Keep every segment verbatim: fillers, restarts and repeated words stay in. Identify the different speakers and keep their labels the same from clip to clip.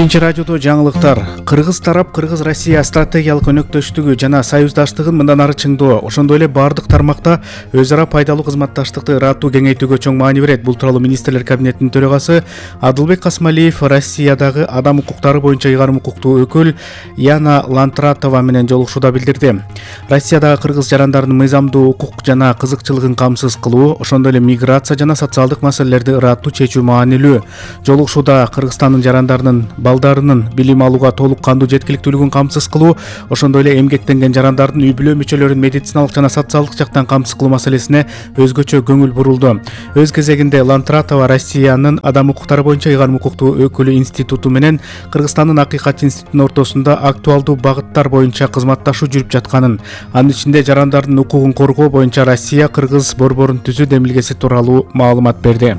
Speaker 1: Биринчи радиодо жаңылыктар. Кыргыз тарап Кыргыз Россия стратегиялык өнөктөштүгү жана союздаштыгын мындан ары чыңдоо, ошондой эле бардык тармакта өз ара пайдалуу кызматташтыкты ыраттуу кеңейтүүгө чоң маани берет. Бул тууралуу министрлер кабинетинин төрагасы Адылбек Касмалиев Россиядагы адам укуктары боюнча ыйгарым укуктуу өкүл Яна Лантратова менен жолугушууда билдирди. Россиядагы кыргыз жарандарынын мыйзамдуу укук жана кызыкчылыгын камсыз кылуу, ошондой эле миграция жана социалдык маселелерди ыраттуу чечүү маанилүү. Жолугушууда Кыргызстандын жарандарынын балдарынын билим алууга толук кандуу жеткиликтүүлүгүн камсыз кылуу, ошондой эле эмгектенген жарандардын үй-бүлө мүчөлөрүн медициналык жана социалдык жактан камсыз кылуу маселесине өзгөчө көңүл бурулду. Өз кезегинде Лантратова Россиянын адам укуктары боюнча ыйгарым укуктуу өкүлү институту менен Кыргызстандын Акыйкат институтунун ортосунда актуалдуу багыттар боюнча кызматташуу жүрүп жатканын, анын ичинде жарандардын укугун коргоо боюнча Россия Кыргыз борборун түзүү демилгеси тууралуу маалымат берди.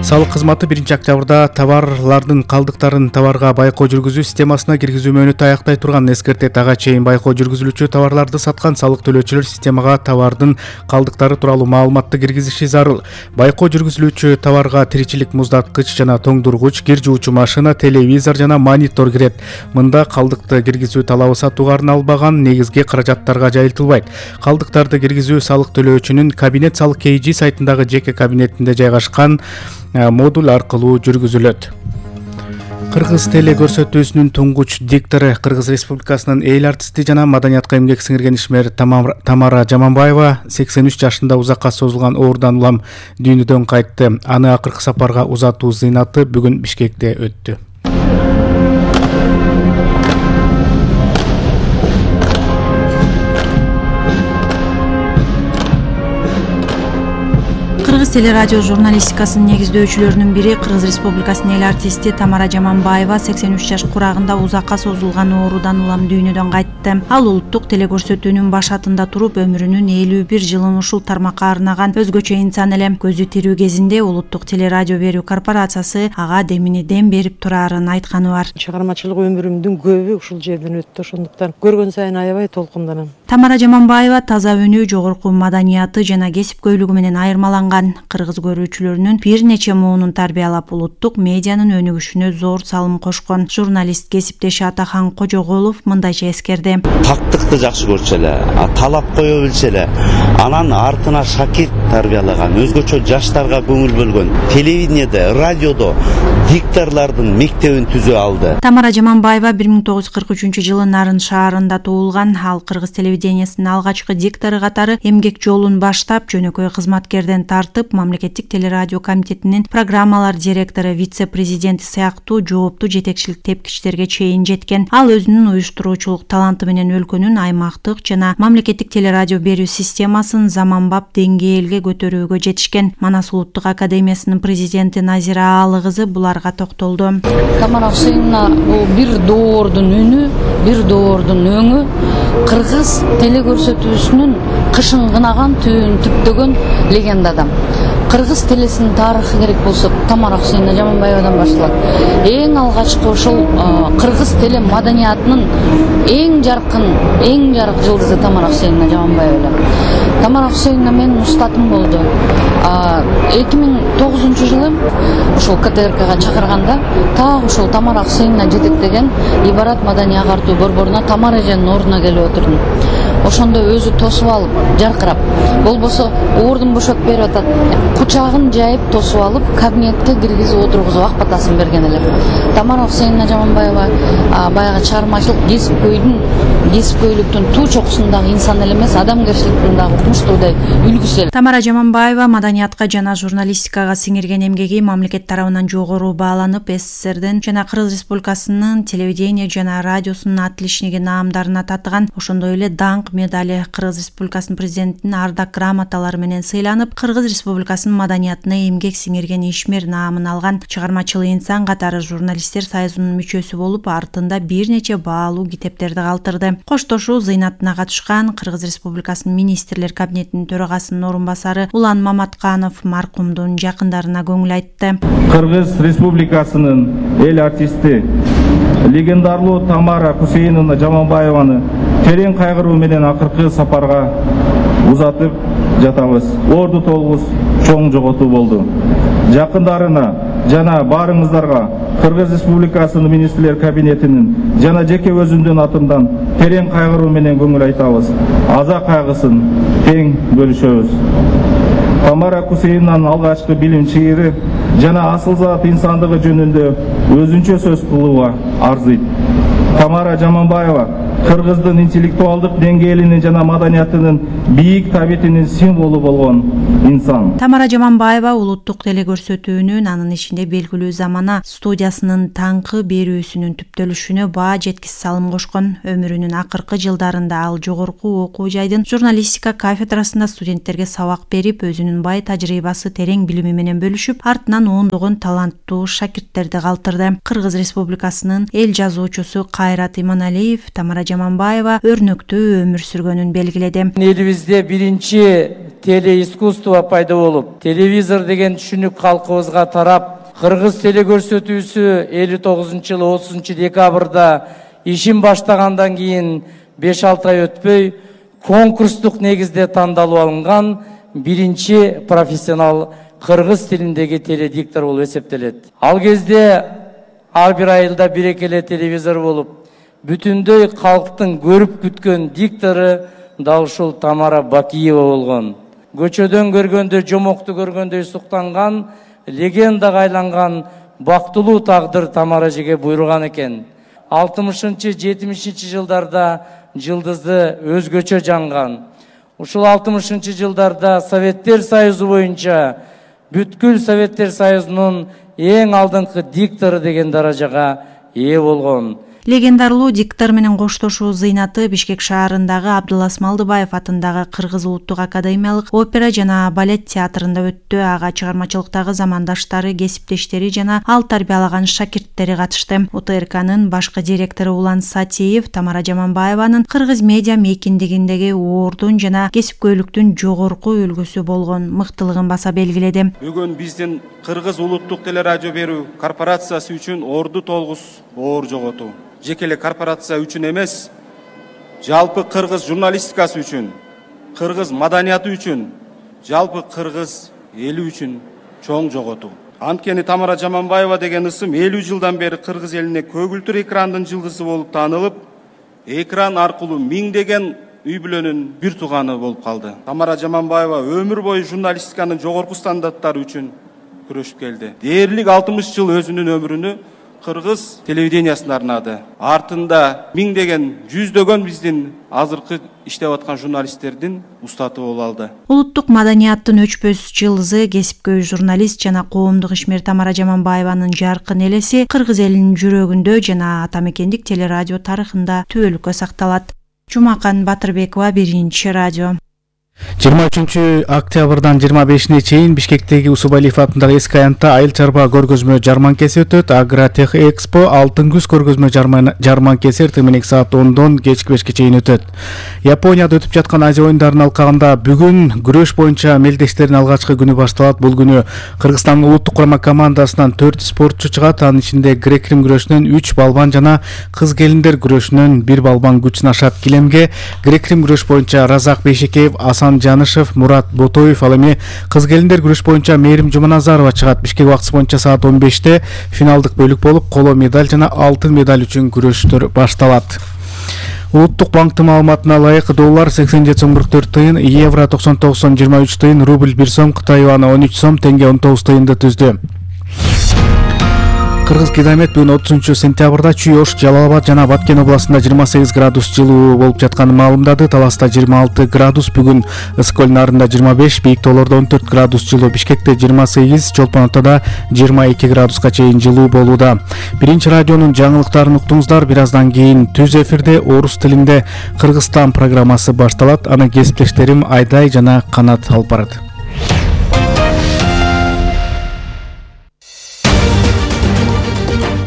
Speaker 1: Салык кызматы биринчи октябрда товарлардын калдыктарын товарга байкоо жүргүзүү системасына киргизүү мөөнөтү аяктай турганын эскертет. Ага чейин байкоо жүргүзүлүүчү товарларды саткан салык төлөөчүлөр системага товардын калдыктары тууралуу маалыматты киргизиши зарыл. Байкоо жүргүзүлүүчү товарга тиричилик муздаткыч жана тоңдургуч, кир жуучу машина, телевизор жана монитор кирет. Мында калдыкты киргизүү талабы сатууга арналбаган негизги каражаттарга жайылтылбайт. Калдыктарды киргизүү салык төлөөчүнүн кабинет салык кей жи сайтындагы жеке кабинетинде жайгашкан модуль аркылуу жүргүзүлөт. Кыргыз теле көрсөтүүсүнүн туңгуч диктору, Кыргыз Республикасынын эл артисти жана маданиятка эмгек сиңирген ишмер Тамара Жаманбаева сексен үч жашында узакка созулган оорудан улам дүйнөдөн кайтты. Аны акыркы сапарга узатуу зыйнаты бүгүн Бишкекте өттү.
Speaker 2: Кыргыз телерадио журналистикасынын негиздөөчүлөрүнүн бири Кыргыз Республикасынын эл артисти Тамара Жаманбаева сексен үч жаш курагында узакка созулган оорудан улам дүйнөдөн кайтты. Ал улуттук телекөрсөтүүнүн башатында туруп өмүрүнүн элүү бир жылын ушул тармакка арнаган өзгөчө инсан эле. Көзү тирүү кезинде улуттук телерадио берүү корпорациясы ага демини дем берип турарын айтканы бар.
Speaker 3: Чыгармачылык өмүрүмдүн көбү ушул жерден өттү, ошондуктан көргөн сайын аябай толкунданам.
Speaker 2: Тамара Жаманбаева таза өнүү, жогорку маданияты жана кесипкөйлүгү менен айырмаланган. Кыргыз көрүүчүлөрүнүн бир нече муунун тарбиялап, улуттук медианын өнүгүшүнө зор салым кошкон. Журналист кесиптеши Атахан Кожоголов мындайча эскерди.
Speaker 4: Тактыкты жакшы көрчү эле, талап кое билчү эле, анан артына шакирт тарбиялаган, өзгөчө жаштарга көңүл бөлгөн, телевидениеде, радиодо дикторлордун мектебин түзө алды.
Speaker 2: Тамара Жаманбаева бир миң тогуз жүз кырк үчүнчү жылы Нарын шаарында туулган. Ал Кыргыз телевидениясынын алгачкы диктору катары эмгек жолун баштап, жөнөкөй кызматкерден тартып, мамлекеттик телерадио комитетинин программалар директору, вице-президенти сыяктуу жооптуу жетекчилик тепкичтерге чейин жеткен. Ал өзүнүн уюштуруучулук таланты менен өлкөнүн аймактык жана мамлекеттик телерадио берүү системасын заманбап деңгээлге көтөрүүгө жетишкен. Манас улуттук академиясынын президенти Назира Аалы кызы буларга токтолду.
Speaker 5: Тамара Хусейновна бул бир доордун үнү, бир доордун өңү, Кыргыз телекөрсөтүүсүнүн кышын кынаган, түбүн түптөгөн легенда адам. Кыргыз телесинин тарыхы керек болсо Тамара Хусейновна Жаманбаевадан башталат. Эң алгачкы ошол кыргыз теле маданиятынын эң жаркын, эң жарык жылдызы Тамара Хусейновна Жаманбаева. Тамара Хусейновна менин устатым болду. эки миң тогузунчу жылы ошол ка тэ эр кага чакырганда так ошол Тамара Хусейновна жетектеген Ибарат маданий агартуу борборуна Тамара эженин ордуна келип отурдум. Ошондо өзү тосуп алып, жаркырап, болбосо ордун бошотуп берип атат. Кучагын жайып тосуп алып, кабинетке киргизип отургузуп ак батасын берген эле. Тамара Хусейновна Жаманбаева баягы чыгармачылык кесипкөйдүн, кесипкөйлүктүн туу чокусундагы инсан эле эмес, адамгерчиликтин дагы укмуштуудай үлгүсү.
Speaker 2: Тамара Жаманбаева маданиятка жана журналистикага сиңирген эмгеги мамлекет тарабынан жогору бааланып, эс эс эс эрден жана Кыргыз Республикасынын телевидение жана радиосунун отличниги наамдарына татыган. Ошондой эле даңк медали, Кыргыз Республикасынын президентинин ардак грамоталары менен сыйланып, Кыргыз Республикасынын маданиятына эмгек сиңирген ишмер наамын алган. Чыгармачыл инсан катары журналисттер союзунун мүчөсү болуп, артында бир нече баалуу китептерди калтырды. Коштошуу зыйнатына катышкан Кыргыз Республикасынын министрлер кабинетинин төрагасынын орун басары Улан Маматканов маркумдун жакындарына көңүл айтты.
Speaker 6: Кыргыз Республикасынын эл артисти легендарлуу Тамара Хусейновна Жаманбаеваны терең кайгыруу менен акыркы сапарга узатып жатабыз. Орду толгус чоң жоготуу болду. Жакындарына жана баарыңыздарга Кыргыз Республикасынын министрлер кабинетинин жана жеке өзүмдүн атымдан терең кайгыруу менен көңүл айтабыз. Аза кайгысын тең бөлүшөбүз. Тамара Кусейнанын алгачкы билим чыйыры жана асыл зат инсандыгы жөнүндө өзүнчө сөз кылууга арзыйт. Тамара Жаманбаева Кыргыздын интеллектуалдык деңгээлинин жана маданиятынын бийик табитинин символу болгон инсан.
Speaker 2: Тамара Жаманбаева улуттук телекөрсөтүүнүн, анын ичинде белгилүү Замана студиясынын таңкы берүүсүнүн түптөлүшүнө баа жеткис салым кошкон. Өмүрүнүн акыркы жылдарында ал жогорку окуу жайдын журналистика кафедрасында студенттерге сабак берип, өзүнүн бай тажрыйбасы, терең билими менен бөлүшүп, артынан ондогон таланттуу шакирттерди калтырды. Кыргыз Республикасынын эл жазуучусу Кайрат Иманалиев Тамара Жаманбаева өрнөктүү өмүр сүргөнүн белгиледи.
Speaker 7: Элибизде биринчи телеискусство пайда болуп, телевизор деген түшүнүк калкыбызга тарап, Кыргыз телекөрсөтүүсү элүү тогузунчу жылы отузунчу декабрда ишин баштагандан кийин беш алты ай өтпөй конкурстук негизде тандалып алынган биринчи профессионал кыргыз тилиндеги теледиктор болуп эсептелет. Ал кезде ар бир айылда бир эле телевизор болуп, бүтүндөй калктын көрүп күткөн диктору дал ушул Тамара Бакиева болгон. Көчөдөн көргөндө, жомокту көргөндөй суктанган, легендага айланган бактылуу тагдыр Тамара эжеге буйруган экен. алтымышынчы жетимишинчи жылдарда жылдызы өзгөчө жанган. Ушул алтымышынчы жылдарда Советтер Союзу боюнча бүткүл Советтер Союзунун эң алдыңкы диктору деген даражага ээ болгон.
Speaker 2: Легендарлуу диктор менен коштошуу зыйнаты Бишкек шаарындагы Абдылас Малдыбаев атындагы Кыргыз улуттук академиялык опера жана балет театрында өттү. Ага чыгармачылыктагы замандаштары, кесиптештери жана ал тарбиялаган шакирттери катышты. О Т Р К'нын башкы директору Улан Сатиев Тамара Жаманбаеванын Кыргыз медиа мейкиндигиндеги оордун жана кесипкөйлүктүн жогорку үлгүсү болгон мыктылыгын баса белгиледи.
Speaker 8: Бүгүн биздин Кыргыз улуттук телерадио берүү корпорациясы үчүн орду толгус оор жоготуу. Жекеле корпорация үчүн эмес, жалпы кыргыз журналистикасы үчүн, кыргыз маданияты үчүн, жалпы кыргыз эли үчүн чоң жоготуу. Анткени Тамара Жаманбаева деген ысым элүү жылдан бери кыргыз элине көгүлтүр экрандын жылдызы болуп таанылып, экран аркылуу миңдеген үй бүлөнүн бир тууганы болуп калды. Тамара Жаманбаева өмүр бою журналистиканын жогорку стандарттары үчүн күрөшүп келди. Дээрлик алтымыш жыл өзүнүн өмүрүнү Кыргыз телевидениясына арнады. Артында миңдеген, жүздөгөн биздин азыркы иштеп аткан журналисттердин устаты болуп алды.
Speaker 2: Улуттук маданияттын өчпөс жылдызы, кесипкөй журналист жана коомдук ишмер Тамара Жаманбаеванын жаркын элеси кыргыз элинин жүрөгүндө жана атамекендик телерадио тарыхында түбөлүккө сакталат. Жумакан Батырбекова, Биринчи радио.
Speaker 1: жыйырма үчүнчү октябрдан жыйырма бешине чейин Бишкектеги Усубалиев атындагы эски аянтта айыл чарба көргөзмө жарманкеси өтөт. Агротех Экспо алтын күз көргөзмө жарманкеси эртең менен саат ондон кечки бешке чейин өтөт. Японияда өтүп жаткан Азия оюндарынын алкагында бүгүн күрөш боюнча мелдештердин алгачкы күнү башталат. Бул күнү Кыргызстандын улуттук курама командасынан төрт спортчу чыгат. Анын ичинде грек-рим күрөшүнөн үч балбан жана кыз келиндер күрөшүнөн бир балбан күч сынашат. Килемге грек-рим күрөш боюнча Разак Бейшекеев, Асан Жанышев, Мурат Ботоев, ал эми кыз келиндер күрөш боюнча Мээрим Жуманазарова чыгат. Бишкек убактысы боюнча саат он беште финалдык бөлүк болуп, коло медаль жана алтын медаль үчүн күрөштөр башталат. Улуттук банктын маалыматына ылайык доллар сексен жети сом кырк төрт тыйын, евро токсон тогуз сом жыйырма үч тыйын, рубль бир сом, Кытай юаны он үч сом, теңге он тогуз тыйынды түздү. Кыргыз Гидромет бүгүн отузунчу сентябрда Чүй, Ош, Жалал Абад жана Баткен областында жыйырма сегиз градус жылуу болуп жатканын маалымдады. Таласта жыйырма алты градус, бүгүн Ысык Көл нарында жыйырма беш, Бийик тоолордо он төрт градус жылуу, Бишкекте жыйырма сегиз, Чолпон Атада жыйырма эки градуска чейин жылуу болууда. Биринчи радионун жаңылыктарын уктуңуздар. Бир аздан кийин түз эфирде орус тилинде Кыргызстан программасы башталат. Аны кесиптештерим Айдай жана Канат алып барат.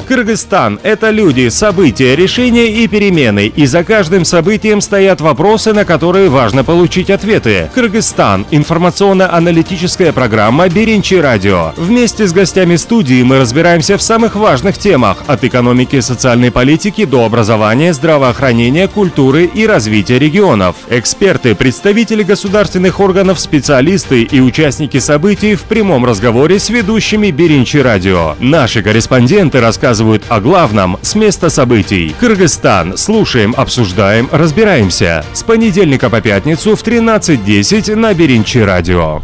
Speaker 9: Кыргызстан – это люди, события, решения и перемены. И за каждым событием стоят вопросы, на которые важно получить ответы. Кыргызстан – информационно-аналитическая программа «Беринчи радио». Вместе с гостями студии мы разбираемся в самых важных темах – от экономики и социальной политики до образования, здравоохранения, культуры и развития регионов. Эксперты, представители государственных органов, специалисты и участники событий в прямом разговоре с ведущими Беринчи радио. Наши корреспонденты рассказывают о главном с места событий. Кыргызстан. Слушаем, обсуждаем, разбираемся. С понедельника по пятницу в тринадцать десять на Беринчи радио.